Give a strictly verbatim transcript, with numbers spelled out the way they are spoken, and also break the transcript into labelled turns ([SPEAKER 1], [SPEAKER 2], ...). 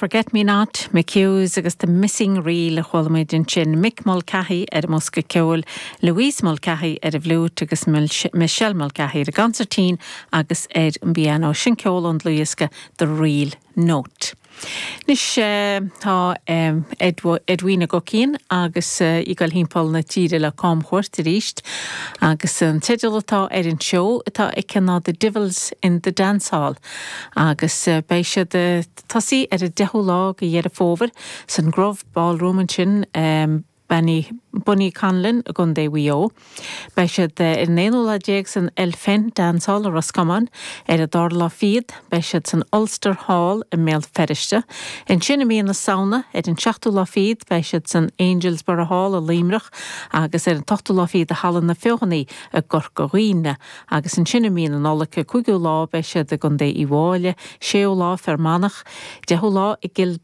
[SPEAKER 1] Forget Me Not, Mick Hughes agus The Missing Reel a chuala muid ansin Mick Mulcahy ar an mbosca ceoil, Louise Mulcahy ar an bhfliúit agus Michelle Mulcahy ar an gconsairtín agus ar an bpianó sin ceol ón dlúthdhiosca The Reel Note. Anois tá Edwina Guckian agus í ag dul timpeall na tíre le camchuairt arís agus an teideal atá ar an seó atá aici ná The Divils in the Dance Hall agus beidh siad tosaí ar an deichiú lá de Dheireadh Fómhair san Grove Ballroom ansin um, Benny Bonniconlon i gContae Mhaigh Eo. Beidh siad ar an aonú lá déag san Elphin Dance Hall i Roscommon ar an dara lá fichead, beidh siad san Ulster Hall i mBéal Feirste. Ansin i mí na Samhna ar an seachtú lá fichead beidh siad san Anglesborough Hall i Luimneach agus ar an ochtú lá fichead i Halla na Feothanaí i gCorca Dhuibhne, agus ansin i mí na Nollag cúigiú lá beidh siad i gContae Uíbh Fhailí, séú lá Fear Manach, deichiú lá i gCill